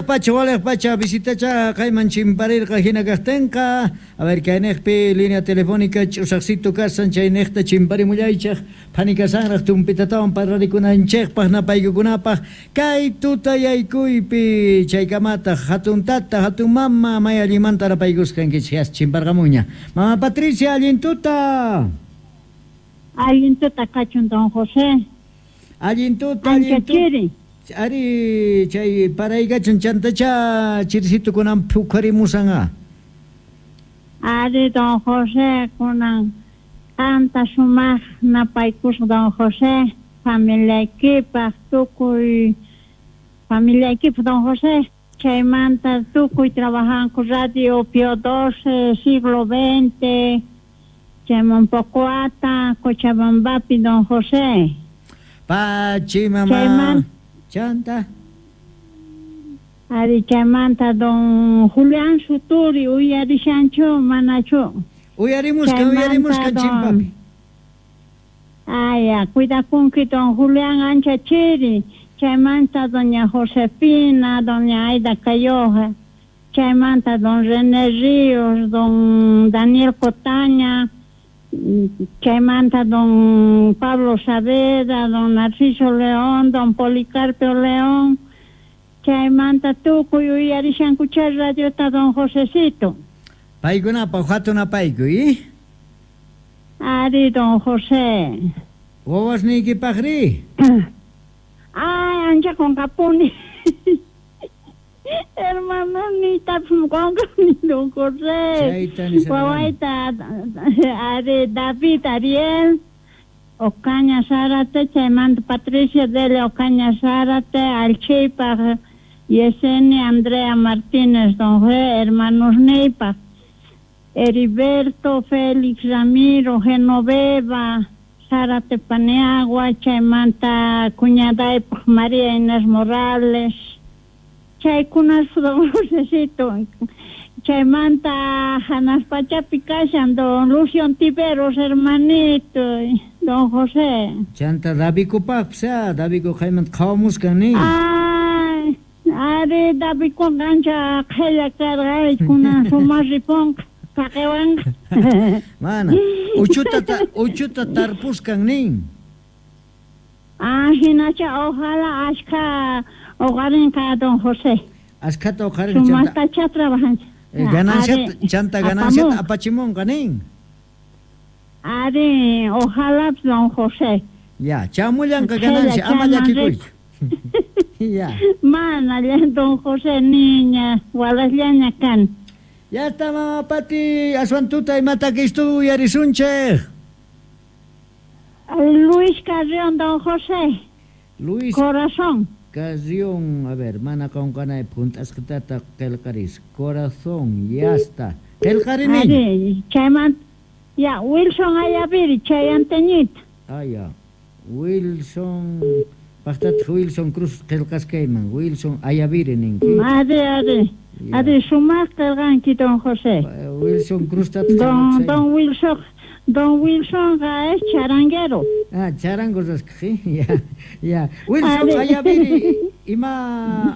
Walej pacha, walej pacha, visitacha kayman chimparirqa hina kajtenqa. A ver, kaynejpi línea telefónica ch'usaqcito kasan chaynejta chimparimullaychej. Phani kasanraj tumpitatawan parlarikunanchejpaj napaykukunapaj. Kay tutayaykuypi chaykamataq hatun tata, hatun mama, may allinmanta napaykusqankichej yas chimparqamunña. Mama Patricia, allin tuta. Allin tuta kachun don José. Allin tuta, Ancha allin tuta. chiri. Ari, chay paraykachun chantacha chirisitu kunan phukharimusanga. Ari don José kunan qanta sumaq napaykusqa don José familiaykipaq tukuy familiaykipaq don José chaymanta tukuy trabajanku radio Pío 12 siglo XX chayman Pocoata Cochabambapi don José. Pachi mama. Chayman Chanta. Ari chaymanta don Julián Suturi uyarishanchu manachu. Uyarimusqa, Chaymanta uyarimusqa don chimpapi. Aya, cuidakunki don Julián ancha chiri, chaymanta doña Josefina, doña Aida Cayoja, chaymanta don René Ríos, don Daniel Cotaña, chaymanta don Pablo Saavedra, don Narciso León, don Policarpio León, chaymanta tukuy uyarishankucha radiota don Josecito. Paykunapaq hatun apaykuy, eh? Ari don José. Wawasniykipaqri? Ay, ancha qonqapuni. Hermano, niytapis qonqani don José. Chayta nisharqani. Wawayta ari David Ariel Ocaña Zárate, chaymanta Patricia Delia Ocaña Zárate, Alchipaq Yesenia Andrea Martínez don José, hermanos niypaq. Heriberto, Félix Ramiro, Genoveva, Zárate Paniagua, chaymanta cuñadaypaq María Inés Morales. Chaykunas don Josecito. Chaymanta hanaq pachapi kashan don Lucio Ontiveros, hermanito, don José. Chanta Davikupaqpis, ah, Daviku qaymanta qhawamuskan nin. Ay, ari Davikuqa ancha qhella karqa, kunan sumaq ripunqa, saqiwanqa. Mana, uchuta ta, uchuta tarpuskan nin. Ah, hinacha ojalá ashka uqarinqa don José. Ashkhata uqarinqa chanta. Sumaqtacha trabajanchik. Gananciata, Ari, chanta gananciata apamunqa. apachimunqa nin. Ari, ojalá don José. Ya, chamullanqa Qhella ganancia, ama chayman llakikuychu. Ya. Mana, don José niña, walasllaña kan. Ya está, mama Pati, aswan tuta imata kistu uyarisunchej. Luis Carrión, don José. Luis Corazón. Carrión, a ver, mana qonqanaypaq hunt'asqitata qillqaris. Corazón, ya está. Qillqarini. Ari, chayman, ya, Wilson Ayaviri, chayanteñita. Ah, ya. Wilson, paqtataq Wilson Cruz qillqasqayman. Wilson Ayaviri ninki. Ari, ari. Ya. Ari, sumaq qillqanki, don José. Wilson Cruz tataq Don, don Wilson, don Wilson es charanguero. Ah, charango rasqaj, ya, ya. Wilson Ari. Ayaviri, ima